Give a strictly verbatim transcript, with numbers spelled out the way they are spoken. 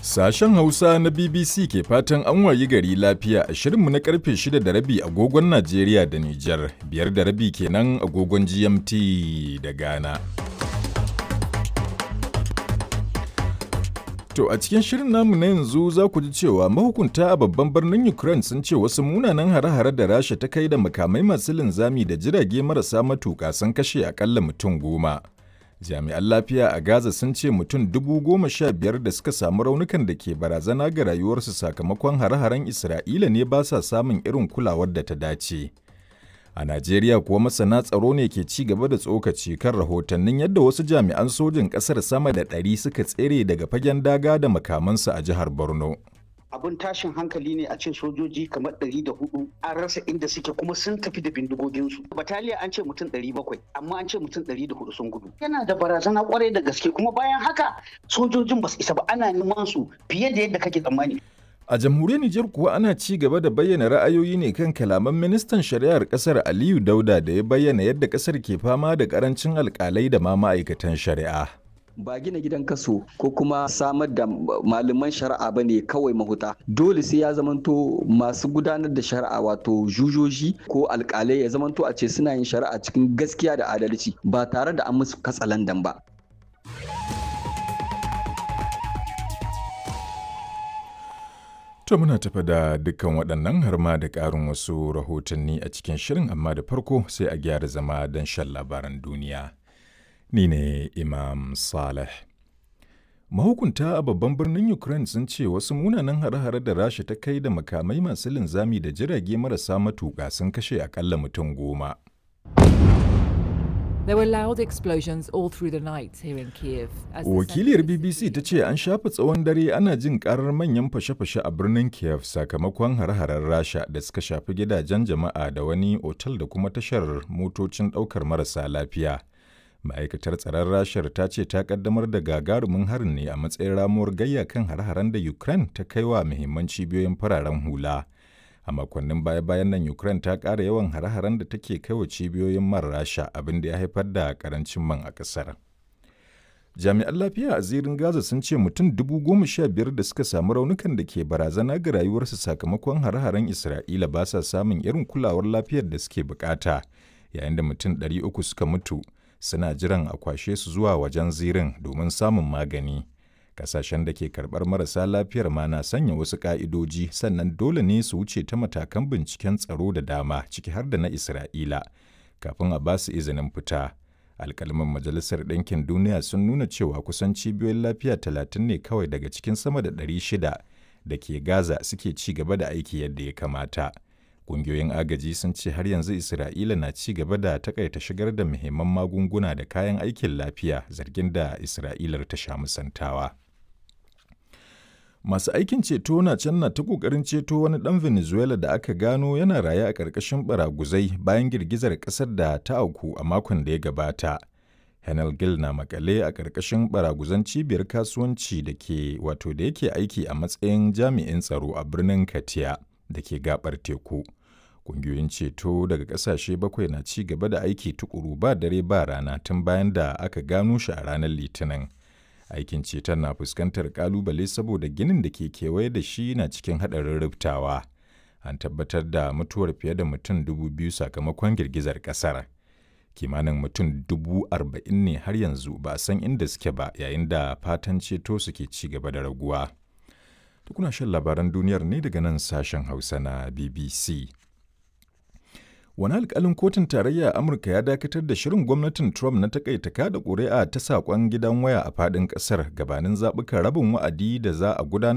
Sashen Hausa na B B C ke fatan an wayi gari lafiya a shirinmu na karfe shida da rabi agogon Najeriya da Nijar, biyar da rabi kenan agogon G M T da Ghana. To a cikin shirin namu na yanzu za ku ji cewa mahukunta a babban birnin Ukraine sun ce wasu munanan hare-hare da Rasha ta kai da makamai masu linzami da jirage marasa matuƙa sun kashe akalla mutum goma. Jami'an lafiya a Gaza sun ce mutum dubu goma sha biyar da suka samu raunukan da ke barazana ga rayuwarsu sakamakon hare-haren Isra'ila ne ba sa samun irin kulawar da ta dace. A Najeriya kuwa masana tsaro ne ke ci gaba da tsokaci kan rahotannin yadda wasu jami'an sojin ƙasar sama da ɗari suka tsere daga fagen daga da makamansu a jihar Borno. Abin tashin hankali ne a ce sojoji kamar ɗari da hudu an rasa inda suke kuma sun tafi da bindigoginsu. Bataliya an ce mutum ɗari bakwai amma an ce mutum ɗari da hudu sun gudu. Yana da barazana kwarai da gaske, kuma bayan haka sojojin ba su isa ba, ana neman su fiye da yadda kake tsammani. A jamhuriyar Nijar kuwa ana ci gaba da bayyana ra'ayoyi ne kan kalaman ministan shari'ar kasar Aliyu Dauda da ya bayyana yadda kasar ke fama da karancin alkalai da ma ma'aikatan shari'a. Ba gina gidan kaso ko kuma samar da malaman shari'a ba ne kawai mahuta. Dole sai ya zamanto masu gudanar da shari'a, wato jujoji ko alkalai, ya zamanto a ce suna yin shari'a cikin gaskiya da adalci ba tare da an musu katsalandan ba. To muna tafa da dukkan waɗannan har ma da ƙarin wasu rahotanni a cikin shirin, amma da farko sai a gyara zama don shan labaran duniya. Ni ne Imam Saleh. Mahukunta a babban birnin Ukraine sun ce wasu munanan hare-hare da Rasha ta kai da makamai masu linzami da jirage marasa matuƙa sun kashe akalla mutum goma. There were loud explosions all through the night here in Kiev. As the Wakiliyar center of the B B C city ta ce an shafe tsawon dare ana jin karar manyan fashe-fashe a birnin Kiev sakamakon hare-haren Rasha da suka shafi gidajen jama'a da wani otal da kuma tashar motocin ɗaukar marasa lafiya. Ma'aikatar tsaron Rashar ta ce ta kaddamar da gagarumin harin ne a matsayin ramuwar gayya kan hare-haren da Ukraine ta kai wa muhimman cibiyoyin fararen hula. A makonnin baya-bayan nan Ukraine ta ƙara yawan hare-haren da take kai wa cibiyoyin man Rasha, abin da ya haifar da ƙarancin man a ƙasar. Jami'an lafiya a zirin Gaza sun ce mutum dubu goma sha biyar da suka samu raunukan da ke barazana ga rayuwarsu sakamakon hare-haren Isra'ila ba sa samun irin kulawar lafiyar da suke bukata, yayin da mutum ɗari uku suka mutu suna jiran a kwashe su zuwa wajen zirin domin samun magani. Kasashen da ke karɓar marasa lafiyar ma na sanya wasu ƙa'idoji, sannan dole ne su wuce ta matakan binciken tsaro da dama, ciki har da na Isra'ila, kafin a ba su izinin fita. Alƙalman Majalisar Ɗinkin Duniya sun nuna cewa kusan cibiyoyin lafiya talatin ne kawai daga cikin sama da ɗari shida da ke Gaza suke ci gaba da aiki yadda ya kamata. Ƙungiyoyin agaji sun ce har yanzu Isra'ila na ci gaba da takaita shigar da muhimman magunguna da kayan aikin lafiya, zargin da Isra'ilar ta sha musantawa. Masu aikin ceto na can na ta ƙoƙarin ceto wani ɗan Venezuela da aka gano yana raye a ƙarƙashin baraguzai bayan girgizar ƙasar da ta auku a makon da ya gabata. Henel Gil na makale a ƙarƙashin baraguzan cibiyar kasuwanci da ke wato da yake aiki a matsayin jami'in tsaro a birnin Katia da ke gabar teku. Ƙungiyoyin ceto daga ƙasashe bakwai na ci gaba da aiki tukuru ba dare ba rana tun bayan da aka gano shi a ranar Litinin. Aikin ceton na fuskantar kalubale saboda ginin da ke kewaye da shi na cikin haɗarin rubtawa. An tabbatar da mutuwar fiye da mutum dubu biyu sakamakon girgizar ƙasar. Kimanin mutum dubu arba'in ne har yanzu ba a san inda suke ba, yayin da fatan ceto suke ci gaba da raguwa. Tukuna shan labaran duniyar ne daga nan sashen Hausa na B B C. Wani alkalin kotun tarayya a Amurka ya dakatar da shirin gwamnatin Trump na takaita kada ƙuri'a ta saƙon gidan waya a faɗin ƙasar gabanin zaɓukan rabin wa'adi da za a gudanar